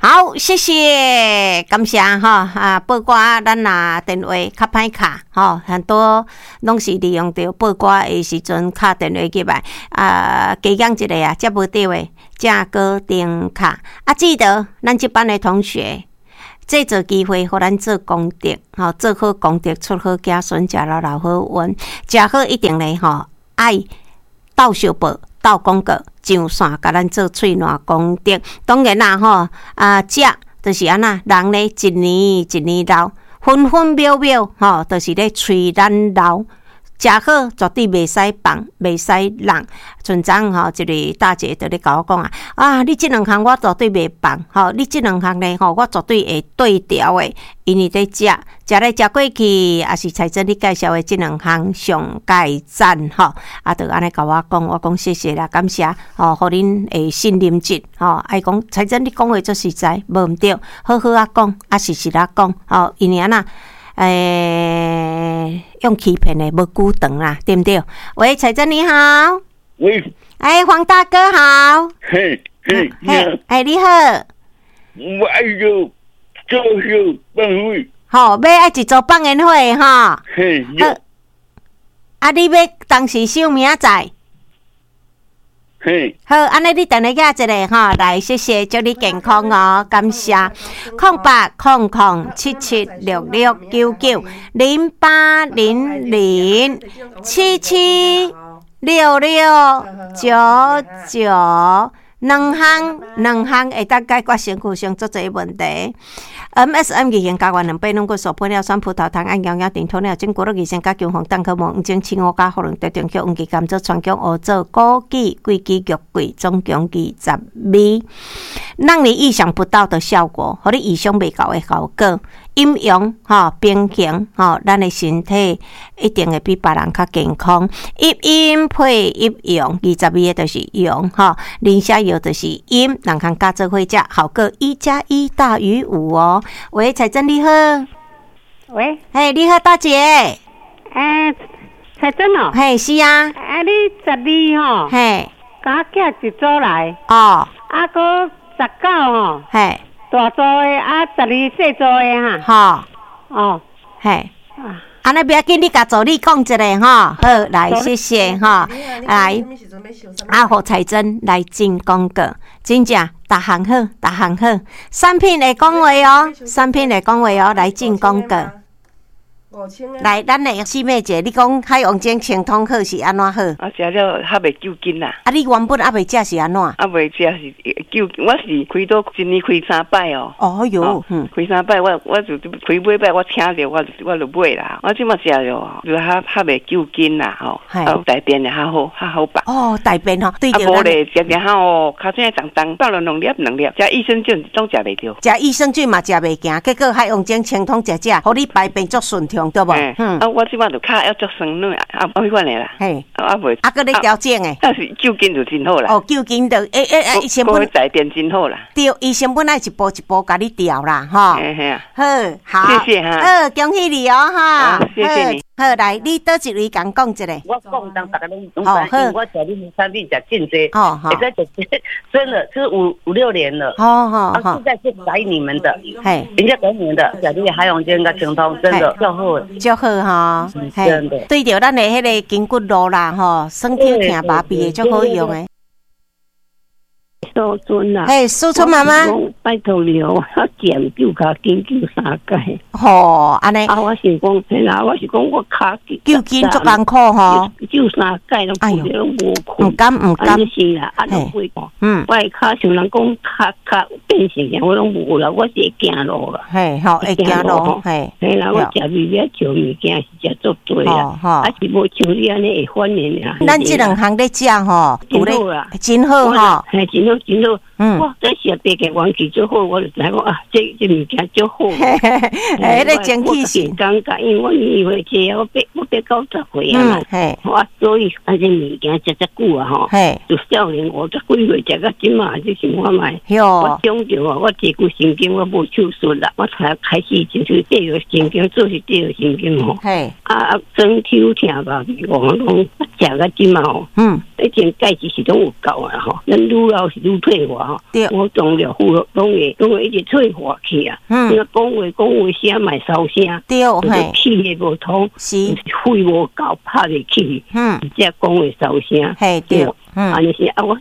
好，謝謝，感謝吼啊！報歌咱若電話較歹敲吼，很多攏是利用著報歌的時陣敲電話入來啊，加減一個啊，接無著的，才閣重敲。啊，記得咱這班的同學，製造機會，予咱做功德，吼，做好功德，出好子孫，食了留好運，食好一定咧吼，愛鬥相報、鬥廣告，上線共咱做喙瀾功德。當然啦，吼，啊，食就是按怎，人咧一年一年老，分分秒秒吼，就是咧催咱老。食好絕對袂使放，袂使浪。像昨昏吼，一个大姐佇咧共我講啊，啊，你這兩項我絕對袂放，吼，你這兩項咧吼，我絕對會對調的，因為佇食，食來食過去，也是彩珍你介紹的這兩項上蓋讚吼，啊，就按呢共我講，我講謝謝啦，感謝吼，予恁會信任這，吼，愛講彩珍你講話足實在，無毋對，好好仔講，啊實實仔講，吼，因為按怎？欸，用欺騙的無久長啦，對毋對？喂，彩珍你好。喂。欸，黃大哥好。嘿，嘿，嘿，欸，你好。我愛做做秀放火。好，欲愛一組放煙火吼。嘿。好。啊，你欲當時收明仔載？嘿。好，按呢你等下寄一个吼，來，謝謝，祝你健康哦，感謝。08007766990800776699，兩項兩項會當解決身軀上足濟問題。MSM 二型膠原蛋白軟骨素玻尿酸葡萄糖胺營養頂鴕鳥筋骨乳二型加強防蛋殼膜黃精青烏加喉嚨特定曲黃芪甘草川薑烏棗枸杞桂枝玉桂總共22味，讓你意想不到的效果，予你意想袂到的效果。陰陽吼平衡吼，咱的身體一定會比別人較健康。一陰配一陽，22個就是陽吼，磷蝦油就是陰，兩項加做伙食，效果1加1大於5哦。喂，彩珍你好。喂。嘿，你好，大姐。欸，彩珍哦。嘿，是啊。啊，你12吼。嘿。共我寄一組來。哦。啊，閣19吼。嘿。大組的啊，12細組的哈。吼。哦。嘿。按呢不要緊，你共助理講一下吼。好，來，謝謝吼。來，啊，予彩珍來進廣告，真正逐項好，逐項好。產品會講話哦，產品會講話哦，來進廣告。來，咱的四妹姐，你講海王精清通好是按怎好？啊，食了較袂糾筋啦。啊，你原本猶未食是按怎？猶未食是糾，我是開刀一年開三擺哦。哦喲，開三擺，我就開尾擺，我請著我就買啦。我這馬食了，就較較袂糾筋啦吼。啊，大便會較好，較好排。哦，大便吼，對啊，無咧，食食下哦，尻川重重，放了兩粒兩粒，食益生菌總食袂著。食益生菌嘛食袂行，結果海王精清通食食，予你排便足順暢，對無？嗯。啊，我這擺就跤猶足酸軟，啊，彼款的啦。嘿。啊，袂。啊，閣咧調整的。但是糾筋就真好啦。哦，糾筋就欸欸欸，伊先本。大便真好啦。對，伊先本來一步一步共你調啦，吼。嘿嘿啊。好，好。謝謝哈。好，恭喜你哦，哈。謝謝你。好，來，你佗一位共講一下。我講當逐家攏攏知，因為我食恁產品食真濟。哦好。會使食，真的是五六年了。哦哦啊，現在是改你們的。嘿。人家改你們的，食你的海王精佮清通，真的足好。足好吼。真的。對著咱的彼个筋骨露啦吼，酸痛疼麻痹的足好用的。素春啊，嘿，素春媽媽，拜託你哦，我減救跤筋救三擺。吼，按呢。啊，我想講，嘿啦，我是講我跤救筋足艱苦吼，救三擺攏哎喲，攏無毋甘毋甘。是啦，啊，攏會嗯，我的跤像人講跤跤變成啥，我攏無啦，我是會行路啦。嘿，吼，會行路，嘿。嘿啦，我食物仔食物件是食足濟啦，啊是無像你按呢會反應啊。咱這兩項咧食吼，真好啦，真好吼，嘿，真好真好。嗯，我這食白個元氣足好，我就知影講啊，這這物件足好。嘿，彼个精氣神。感覺，因為我年歲濟，我八九十歲啊嘛。嘿，我所以啊，這物件食遮久啊吼，就少年50幾歲食到這馬，你想看覓？我長著啊，我坐骨神經我無手術啦，我才開始就是坐骨神經，做是坐骨神經吼。啊，酸痛疼吧，我講食到這馬吼。以前鈣質是攏有夠啊吼，咱愈老是愈退化。吼，五臟六腑攏會一直退化去啊。嗯。講話講話聲嘛會收聲，對，嘿。氣血無通，是。肺無夠拍袂起，嗯。才講話收聲，嘿對，嗯。按呢是啊，我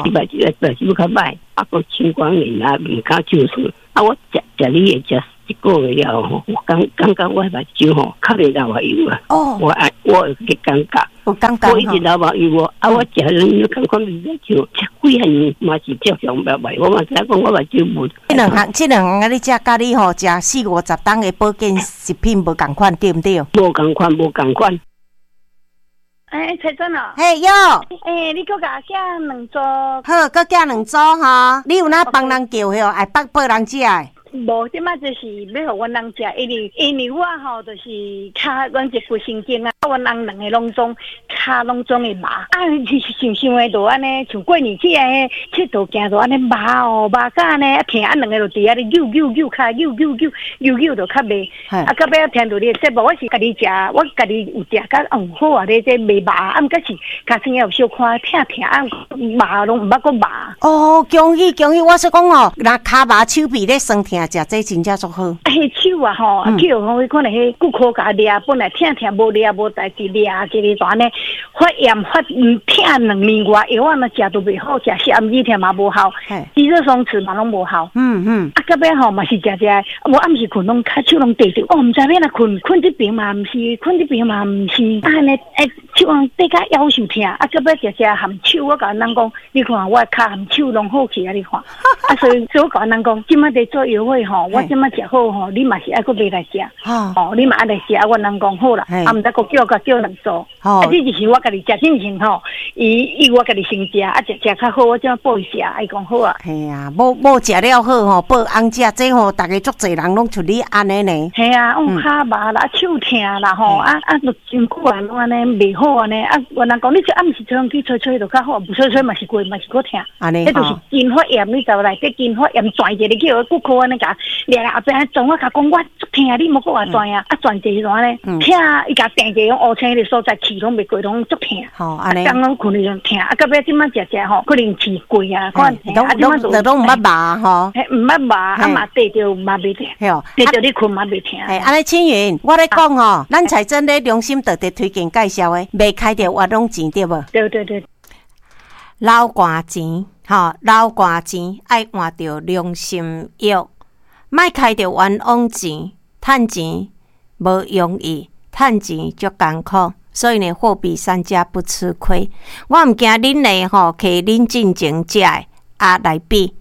一擺一擺手較歹，啊，閣青光眼啊，毋敢手術，啊，我食食你的食一個月了後，我感覺我目睭吼較袂流目油啊。哦。我有個感覺。有感覺。我一直流目油哦，啊，我食了感覺目睭食幾項嘛是照常目目，我嘛知影講我目睭無。這兩項啊，你食佮你吼食40-50冬的保健食品無仝款，對毋對？無仝款，無仝款。欸，彩珍啊！嘿喲！欸，你閣共我寄兩組。好，閣寄兩組吼。你有哪幫人叫吼？愛幫幫人食的？無，這擺就是欲予阮翁食，因為我吼就是跤阮這骨神經啊，阮翁兩个攏總跤攏總會麻，啊，想想的就按呢，像過年起來𨑨迌行就按呢麻哦，麻甲按呢啊疼，啊兩个就佇遐咧扭扭扭跤扭扭扭扭扭就較袂，啊到尾仔聽著你的節目，我是家己食，我家己有食甲好啊咧，這袂麻，啊毋過是尻川也有小可疼疼，啊麻攏毋捌閣麻。哦，恭喜恭喜！我說講哦，若跤麻手臂咧酸疼。食這真正足好。啊，彼手啊吼，去予講可能彼骨科共掠，本來疼疼無掠無代誌，掠一个就按呢發炎發疼兩年外，藥仔若食都袂好，食止痛嘛無效，肌肉鬆弛嘛攏無效。嗯嗯。啊，到尾吼嘛是食食，無暗時睏攏跤手攏硩著，我毋知欲按怎睏，睏這邊嘛毋是，睏這邊嘛毋是，啊按呢手攏硩甲夭壽疼，啊到尾食食含手，我共人講，你看我跤含手攏好起啊，你看。啊，所以我共人講，這擺佇做藥會吼，我這擺食好吼，你嘛是愛閣買來食，吼，你嘛愛來食，我人講好啦，啊，毋知閣叫佮叫兩組，啊，這就是我家己食進前吼，伊我家己先食，啊，食食較好，我這擺報伊食，伊講好啊。嘿啊，某食了好吼，報翁食，這吼逐个足濟人攏像你按呢呢。嘿啊，跤麻啦，手疼啦吼，啊啊，就真久啊，攏按呢袂好按呢，啊，我人講你這暗時吹風機吹吹就較好，無吹吹嘛是過嘛是閣疼。按呢彼就是筋發炎，你知無內底筋發炎轉一個去予骨科按呢共掠來後壁轉，我共講我足疼，你莫閣話轉啊，啊轉一個按呢疼，伊共定一個烏青个所在氣攏袂過，攏足疼。吼，按呢。剛剛睏的陣疼，啊，到尾這擺食食吼，可能氣過啊，可能疼，啊，這擺就攏毋捌麻吼。嘿，毋捌麻，啊嘛硩著嘛袂疼。硩著你睏嘛袂疼。嘿，按呢青雲，我咧講吼，咱彩珍咧良心特別推薦介紹的，袂開著冤枉錢對無？對對對。老寒錢，吼，老寒錢愛換著良心藥，莫開著冤枉錢，趁錢無容易，趁錢足艱苦，所以呢，貨比三家不吃虧。我毋驚恁呢吼，摕恁進前食的啊來比，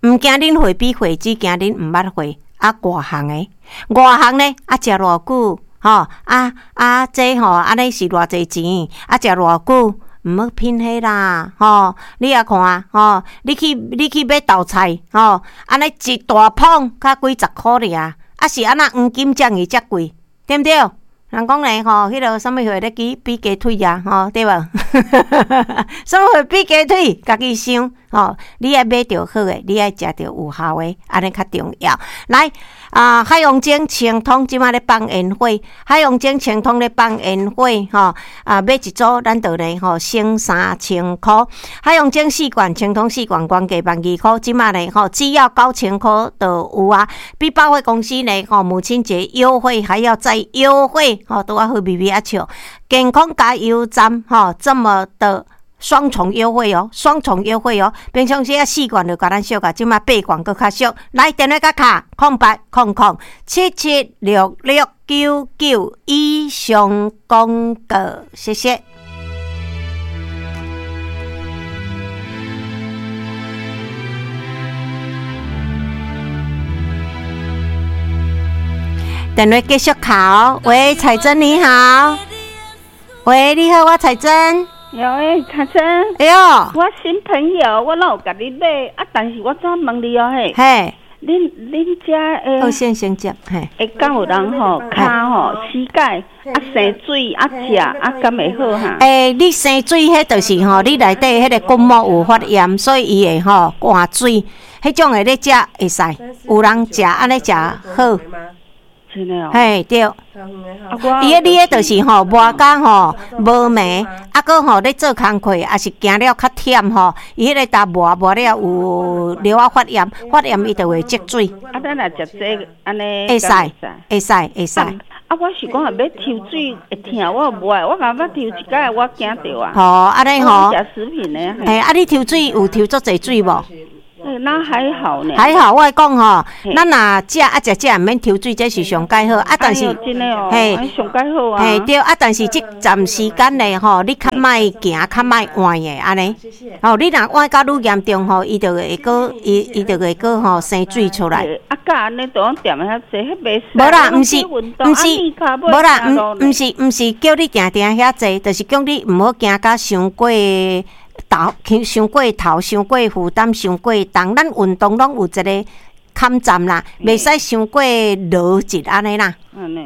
毋驚恁會比會，只驚恁毋捌會啊外行的，外行呢啊食偌久吼啊啊這吼按呢是偌濟錢啊食偌久。毋好品彼啦，吼！你也看，吼！你去買豆菜，吼！按呢一大捧才幾十箍爾，啊是按怎黃金遮爾遮貴，對毋對？人講咧吼，彼个啥物貨咧比雞腿啊，吼，對無？啥物貨比雞腿？家己想，吼！你愛買著好的，你愛食著有效的，按呢較重要。來啊，海王精清湯這擺咧放煙火，海王精清湯咧放煙火，吼啊，買一組咱就咧吼省3000箍。海王精4罐，清湯4罐，原價12000箍，這擺咧吼只要9000箍就有啊。比百貨公司咧吼母親節優惠還要再優惠，吼拄仔好微微仔笑。健康加油站吼這麼的。雙重優惠哦，雙重優惠哦！平常時啊4罐就共咱俗啊，這擺8罐閣較俗。來，電話佮卡08 00 77 66 99以上廣告，謝謝。電話繼續卡哦。喂，彩珍你好。喂，你好，我彩珍。有欸，彩珍。哎呦，我新朋友，我哪有共你買啊？但是我怎問你哦嘿？嘿。恁遮的。好，先先接嘿。會敢有人吼，跤吼膝蓋啊生水啊食啊，敢會好哈？欸，你生水彼就是吼，你內底彼个骨膜有發炎，所以伊會吼灌水。彼種的咧食會使，有人食按呢食好。真的哦。嘿，對。伊彼你彼就是吼，磨甲吼無糜，啊閣吼咧做工課，抑是行了較忝吼，伊彼个焦磨磨了有了仔發炎，發炎伊就會積水。啊，咱若食這按呢，會使，會使，會使。啊，我是講若欲抽水會疼，我無愛，我感覺抽一擺我驚著啊。吼，按呢吼。食食品的。嘿，啊，你抽水有抽足濟水無？那還好呢。還好，我講吼，咱若食啊食食毋免抽水，這是上蓋好啊。但是，嘿，上蓋好啊。嘿，對啊，但是這暫時間內吼，你較莫行，較莫換的按呢。吼，你若換甲愈嚴重吼，伊就會閣伊伊就會閣吼生水出來。啊，佮按呢都踮遐濟，彼袂使。無啦，毋是，毋是，無啦，毋是叫你定定遐濟，就是叫你毋好行甲傷過。頭傷過頭，傷過負擔，傷過重。咱運動攏有一個坎站啦，袂使傷過勞一按呢啦。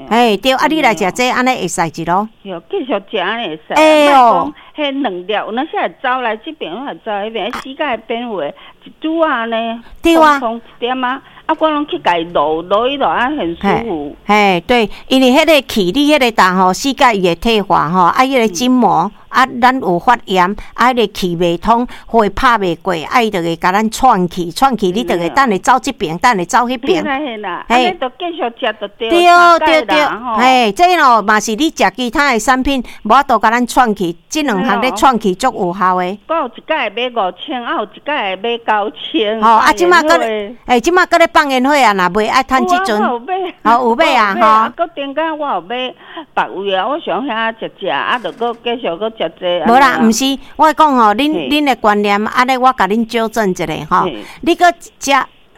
嘿，對，啊，你來食這按呢會使一囉。對，繼續食按呢會使。哎喲，彼兩粒，有那時會走來這邊，會走彼邊，膝蓋邊位一拄啊呢，對啊，痛一點啊。啊，我攏去共伊揉揉一揉啊，很舒服。嘿，對，因為彼個氣，你彼個焦吼，膝蓋伊會退化吼，啊，彼個筋膜啊，咱有發炎，啊，彼個氣袂通，血拍袂過，啊，伊就會共咱喘氣，喘氣，你就會等下走這邊，等下走彼邊。嘿啦，嘿，就繼續食就對。對對對，嘿，這哦嘛是你食其他的產品，無法度共咱喘氣，這兩項咧喘氣足有效的。我有一擺買5000，啊，有一擺買9000。吼，啊，這馬閣咧，欸，這馬閣咧放煙火啊，若袂愛趁這陣，吼有買啊，吼。閣頂工我有買別位啊，我想遐食食，啊，著閣繼續閣食這。無啦，毋是，我講吼，恁的觀念，按呢我共恁糾正一下吼，你閣食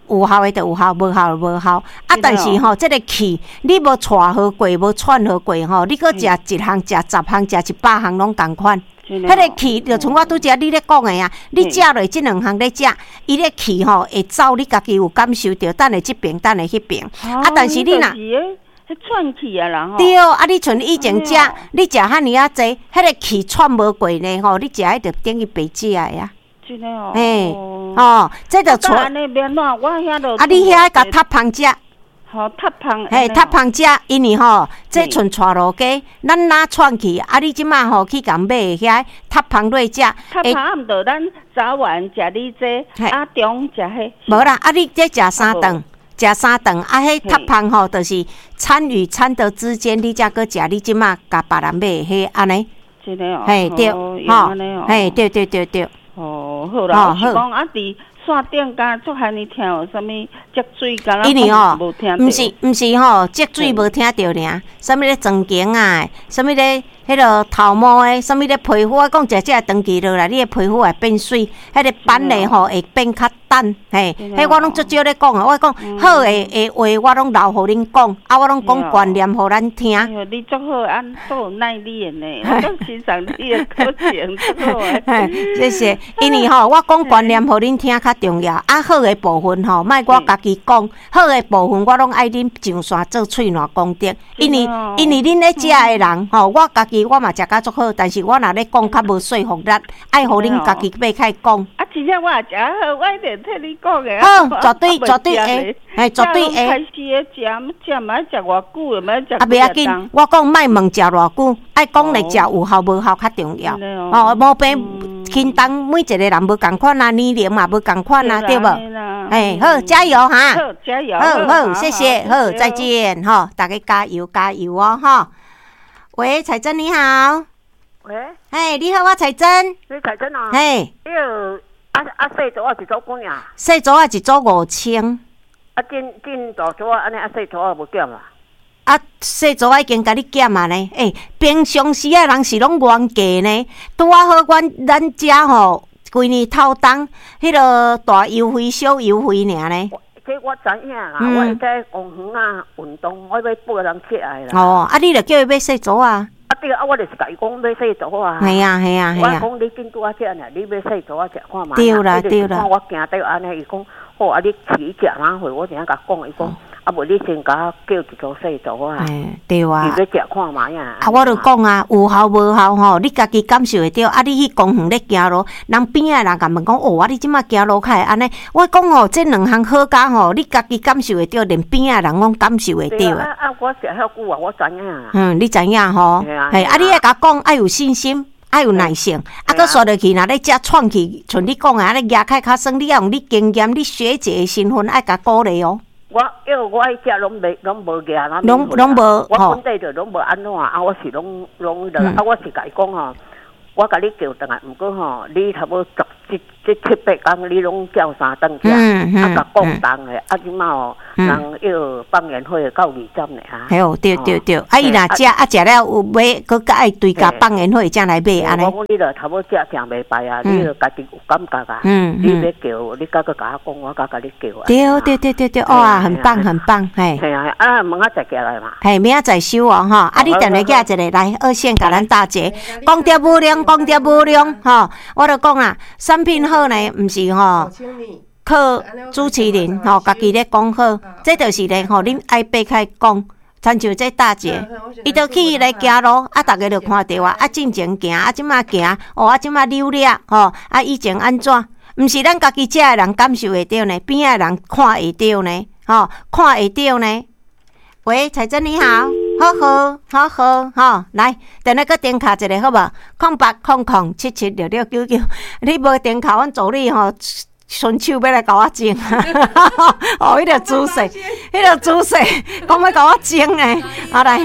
有效的就有效，無效就無效。啊，但是吼，這个氣你無帶好過，無喘好過吼，你閣食一項、食10項、食100項攏仝款。彼个氣就像我拄才你咧講的啊，你食落這兩項咧食，伊咧氣吼會走，你家己有感受著，等下這邊，等下彼邊。啊，但是你若喘氣啊啦吼。對，啊，你像以前食，你食遐爾仔濟，彼个氣喘無過呢吼，你食彼就等於白食的啊。真的哦。嘿，哦，這就喘。啊，你遐共塔芳食。吼，塔芳。嘿，塔芳食，因為吼，這像帶路雞，咱若喘氣，啊，你這馬吼去共買遐塔芳落食。塔芳毋著咱早晚食你這，啊中食彼。無啦，啊你這食三頓，食三頓，啊彼塔芳吼，就是餐與餐的之間，你才閣食，你這馬共別人買的彼按呢。真的哦。嘿，對，吼，嘿，對對對對。哦，好啦，我是講啊，佇線頂敢足罕爾聽有啥物積水，敢若因為吼，毋是吼，積水無聽著爾，啥物咧裝頸啊，啥物咧彼个頭毛的，啥物咧皮膚，我講食這長期落來，你的皮膚會變媠，彼个斑的吼會變較淡，嘿，彼我攏足少咧講啊，我講好的話，我攏留予恁講，啊，我攏講觀念予咱聽。你足好，按足有耐力的呢，我足欣賞你的課程，足好的。謝謝，因為吼，我講觀念予恁聽較重要，啊，好的部分吼，莫我家己講，好的部分我攏愛恁上線做喙瀾功德，因為恁咧食的人吼，我家己我嘛食甲足好，但是我若咧講較無說服力，愛予恁家己欲開講。啊，真正我也食好，我一定替你講的。好，絕對絕對會，嘿，絕對會。開始咧食，食毋愛食偌久，毋愛食。啊，袂要緊，我講莫問食偌久，愛講咧食有效無效較重要。哦，無病輕重，每一個人無仝款啊，年齡嘛無仝款啊，對無？哎，好，加油哈！好，加油！好好，謝謝，好，再見，吼，大家加油加油哦，吼。喂，彩珍你好。喂。嘿，你好，我彩珍。你彩珍啊？嘿。彼个啊啊，細組仔一組幾啊？細組仔一組5000。啊，進大組仔按呢啊，細組仔無減啊？啊，細組仔已經共你減啊呢。欸，平常時啊，人是攏原價呢。拄仔好，阮咱遮吼，規年透冬，彼个大優惠、小優惠爾呢。這我知影啦，我在公園啊運動，我欲報人起來啦。哦，啊，你著叫伊買細組啊。啊對啊，我就是共伊講買細組啊。係啊係啊係啊。我講你緊拄仔食爾，你買細組仔食看覓。對啦對啦。我驚著按呢，伊講好啊，你去食哪會？我陣仔共講，伊講。啊，無你先共我叫一組細組啊。對啊。伊欲食看覓啊。啊，我就講啊，有效無效吼，你家己感受會著。啊，你去公園咧行路，人邊仔人共問講，哦，啊，你這馬行路較會按呢？我講吼，這兩項好佳吼，你家己感受會著，連邊仔人攏感受會著。啊啊，我食遐久啊，我知影。嗯，你知影吼？嘿，啊，你愛共講，愛有信心，愛有耐性，啊，閣煞落去，若咧食喘氣，像你講的，按呢舉開較酸，你愛用你經驗、你學姐的身份，愛共鼓勵哦。我因為我愛食攏袂攏無額，攏無，我本底就攏無按怎啊，我是攏攏啊，我是共伊講吼，我共你叫轉來，毋過吼，你差不多十這這七八工，你攏照三頓食，啊，共降重的，啊，這馬哦，人要放煙火到20呢啊。嘿哦，對對對，啊，伊若食啊食了有買，閣較愛追加放煙火才來買按呢。我講你著差不多食誠袂歹啊，你著家己有感覺啊。你欲叫，你閣閣共我講，我閣共你叫。對對對對對，哇，很棒很棒，嘿。嘿啊，啊，明仔載寄來嘛。嘿，明仔載收哦，吼，啊，你電話寄一个來，二線共咱大姐，功德無量，功德無量，吼，我就講啊，產品好呢，毋是吼，靠主持人吼，家己咧講好，這就是咧吼，恁愛擘開講，親像這大姐，伊就去咧行路，啊，逐家就看著啊，啊，進前行，啊，這馬行，哦，啊，這馬扭掠，吼，啊，以前按怎？毋是咱家己食的人感受會著呢，邊仔的人看會著呢，吼，看會著呢。喂，彩珍你好，好好好好吼，來，電話閣電敲一个好無？0800776699，你無電敲，阮助理吼，伸手欲來共我整，哦，彼個姿勢，彼個姿勢，講欲共我整呢，啊來。